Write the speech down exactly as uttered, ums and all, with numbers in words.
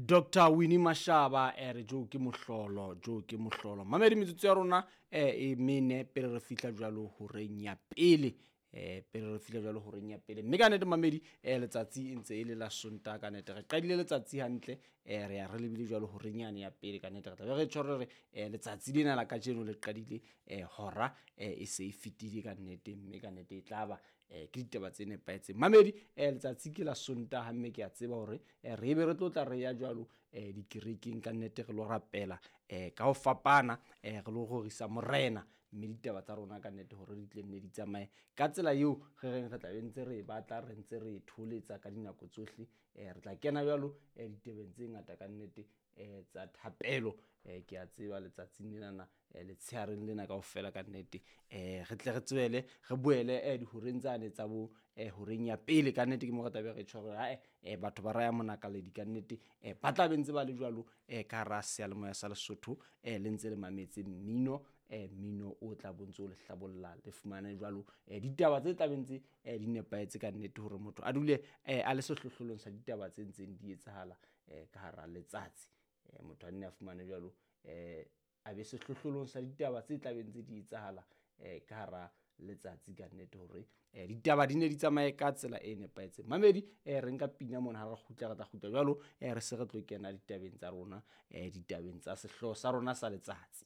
Doctor Winnie Mashaba e re jo ke mohlolo, jo ke mohlolo. Mamedi, metsotso ya rona eh e mene pele re fihla jwalo horeng ya pele, eh pele re fihla jwalo horeng ya pele. Mme ka nnete mamedi, eh letsatsi e ntse e le la Sontaha ka nnete. Re qadile letsatsi hantle, eh re ya re lebile jwalo horeng yane ya pele ka nnete. Re tla be re tjho re re eh letsatsi lena la kajeno le qadile eh hora eh e se e fetile ka nnete, mme ka nnete e tla ba eh ke ditaba tse nepahetseng. Mamedi, eh letsatsi ke la Sontaha, mme ke a tseba hore eh re be re tlo tla re ya jwalo eh dikerekeng ka nnete, re lo rapela eh ka ho fapana, eh re lo rorisa Morena, mme ditaba tsa rona ka nnete hore di tle nne di tsamaye ka tsela eo re reng re tla be ntse re e batla, re ntse re e tholetsa ka dinako tsohle. Eh re tla kena jwalo eh ditebeng tse ngata ka nnete eh tsa thapelo. Eh ke a tseba letsatsing lenana, eh letshehareng lena kaofela ka nnete, eh re tle re tswele re boele eh dihoreng tsane tsa bo eh horeng ya pele ka nnete. Ke mo re tla be re tjho hore hae eh batho ba raya monakaledi ka nnete, eh ba tla be ntse ba le jwalo eh ka hara seyalemoya sa Lesotho, eh le ntse le mametse mmino, eh mmino o tla bontse o le hlabolla, le fumane jwalo eh ditaba tse tla be ntse eh di nepahetse ka nnete, hore motho a dule eh a le sehlohlolong sa ditaba tse ntseng di etsahala eh ka hara letsatsi. Eh motho a nne a fumane jwalo eh a be sehlohlolong sa ditaba tse tla be ntse di etsahala eh ka hara letsatsi ka nnete, hore eh ditaba di ne di tsamaye ka tsela e nepahetseng. Mamedi, eh re nka pina mona, ha re kgutla re tla kgutla jwalo, eh re se re tlo kena ditabeng tsa rona, eh ditabeng tsa sehlooho sa rona sa letsatsi.